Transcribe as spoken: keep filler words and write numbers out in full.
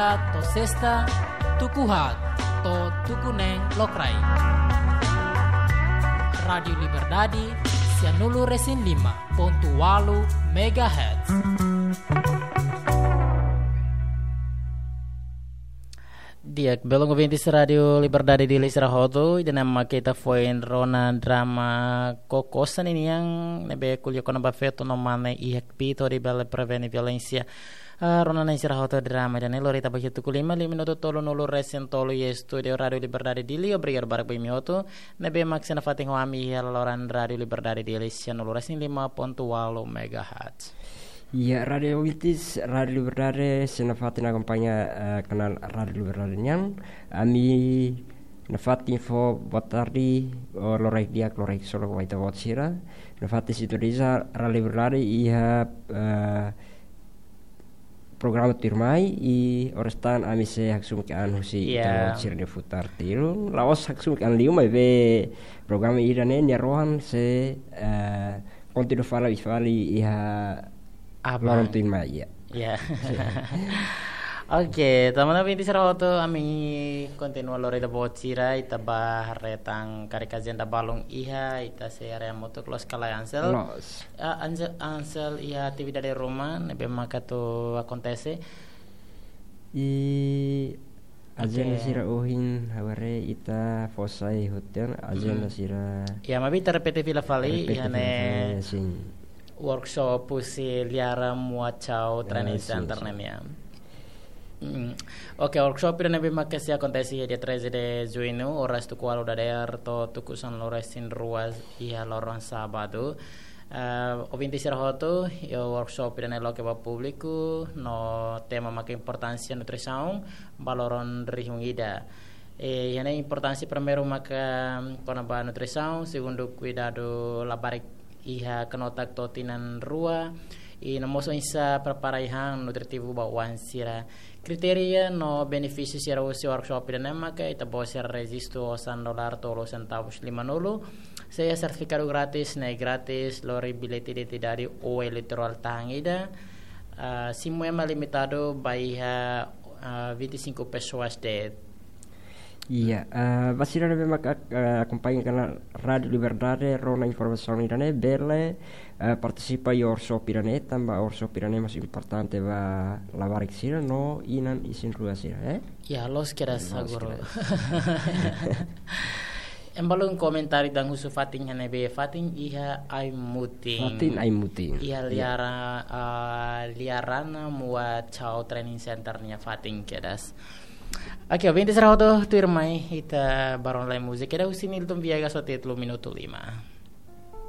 To'o sesta, tuku haat to'o tuku neen lokraik. Rádiu Liberdade, sianulu-resin-lima pontu ualu megahertz. Di'ak, belun ouvintes Rádiu Liberdade Dili sira hotu, ida-ne'e mak ita foin rona drama Koko Saninian, ne'ebé ko'alia kona-ba feto no mane iha kbiit hodi bele prevene violénsia. Ah, rona-na'in sira hotu, drama ida-ne'e lori ita ba iha tuku lima, lima minutu tolunulu-resin-tolu iha estúdiu Rádiu Liberdade Dili. Obrigadu barak ba imi hotu ne'ebé mak sei nafatin ho ami iha laloran Rádiu Liberdade Dili sianulu-resin-lima pontu ualu megahertz. Ya, rádiu ouvintes, Rádiu Liberdade, sei nafatin akompaña, eh, kanál Rádiu Liberdade nian. Ami nafatin fó boa tarde, ou loraik di'ak, loraik solok ba ita-boot sira. Nafatin sintoniza Rádiu Liberdade iha, eh, programa tuirmai, i oras tan ami sei haksoit an husi, ya, ita-boot sira-nia futar tilun. La'ós haksoit an liu, maibé programa ida-ne'e nia rohan sei, eh, kontinua fali, fali iha, ah, loron tuirmai, ya. Ya. Oke, teman-teman, imi sira hotu, ami kontinua lori ita-boot sira, ita ba haree tan karik ajenda balun iha, ita sei haree hamutuk, loos ka lae, Ansel? Loos. Ah, Ansel, Ansel, iha atividade ruma ne'ebé maka atu akontese? I ajenda, oke, sira ohin, ha'u haree ita fó sai hotu ona ajenda, hmm, sira. Ya, maibé ita repete fila fali, repete iha fila ne'e fali, ya, sin. Workshop husi Liara Muat Chao, ya, Training, sin, Center, sin, ne'e nian. Hmm. Oke, workshop ida-ne'ebé maka sei akontese iha dia treze de Junho, oras tuku ualu dadeer to'o tuku sanulu-resin-rua iha loron sábadu. Eh, ouvintes sira hotu, iha workshop ida-ne'e loke ba públiku, no tema maka importánsia nutrisaun ba loron rihun ida. Eh, iha ne'e importánsia primeiru maka kona-ba nutrisaun, segundu kuidadu labarik iha kanotak to'o tinan rua, i no mós oinsá prepara ai-han nutritivu ba oan sira. Kritéria no benefísiu sira husi workshop ida-ne'e maka ita-boot sira rejistu osan dolar tolu sentavus limanulu, sei iha sertifikadu grátis, ne'e grátis, lori billete identidade ou eleitorál tahan ida, ah, simu ema limitadu ba iha, ah, vinte e cinco pessoas de'it. Iya, eh, ba sira ne'ebé maka, eh, akompaña kanál Rádiu Liberdade, rona informasaun ida-ne'e, bele, eh, partisipa iha workshop ida-ne'e, tanba workshop ida-ne'e mós importante ba labarik sira no inan isin-rua sira, eh? Ya, loos kedas, loos, guru, kedas. Ema balun komentáriu dehan husu fatin iha ne'ebé? Fatin iha Aimutin. Fatin Aimutin. Iha, iya, Liara, ah, Liara Muat Chao Training Center nia fatin kedas. Oke, ouvintes sira hotu, tuirmai ita ba rona lai múzika ida husi Nilton Viegas ho títulu Minutu Lima.